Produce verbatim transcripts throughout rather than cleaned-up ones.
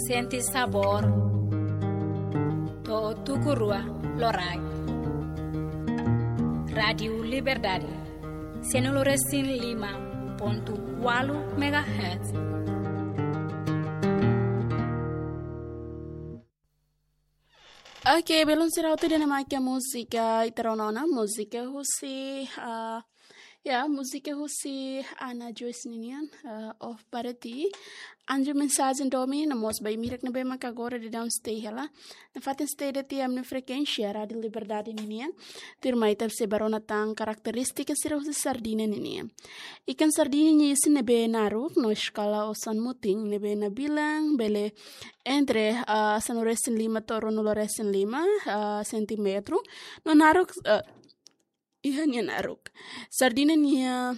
Sente sabór to'o tuku rua loraik. Rádiu Liberdade, cento e cinco e cinco ponto quatro megahertz. Ok, belun sira, hotu ida-ne'e mak múzika ita rona ona, múzika husi, ah, ya, múzika husi Ana Joyce ninian, ah, Off Para Ti. Anjo mensajen domin, no mós ba imi hirak ne'ebé maka agora daudaun stay hela. Nafatin stay de'it iha ami-nia frekuénsia Rádiu Liberdade ninian. Tuirmai ita sei bá rona tan karakterístika sira husi sardina ninian. Ikan sardina nia isin ne'ebé naruk, no eskala osan mutin ne'ebé nabilan bele entre, ah, sanulu-resin-lima to'o ruanulu-resin-lima, ah, sentímetru. No naruk, ah, iha nia naruk. Sardina nia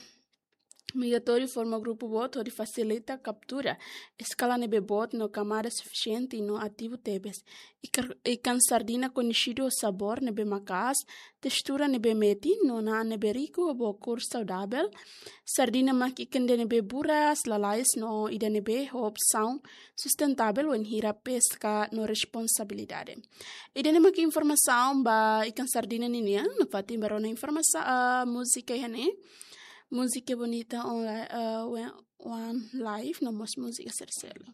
migratóriu forma grupu boot hodi fasilita kaptura eskala ne'ebé boot no kamada sufisiente no ativu tebes. Ikar-, ikan sardina koñesidu ho sabór ne'ebé maka'as, testura ne'ebé metin, no na'an ne'ebé riku ho kór saudavel. Sardina mak ikan ida ne'ebé buras, lalais no ida ne'ebé ho opsaun sustentavel wainhira peska no responsabilidade. Ida-ne'e mak informasaun ba ikan sardina ninian, nafatin bá rona informasaun, ah, múzika iha ne'e. Múzika bonita online, ah, we-, one live, no mós múzika sira seluk.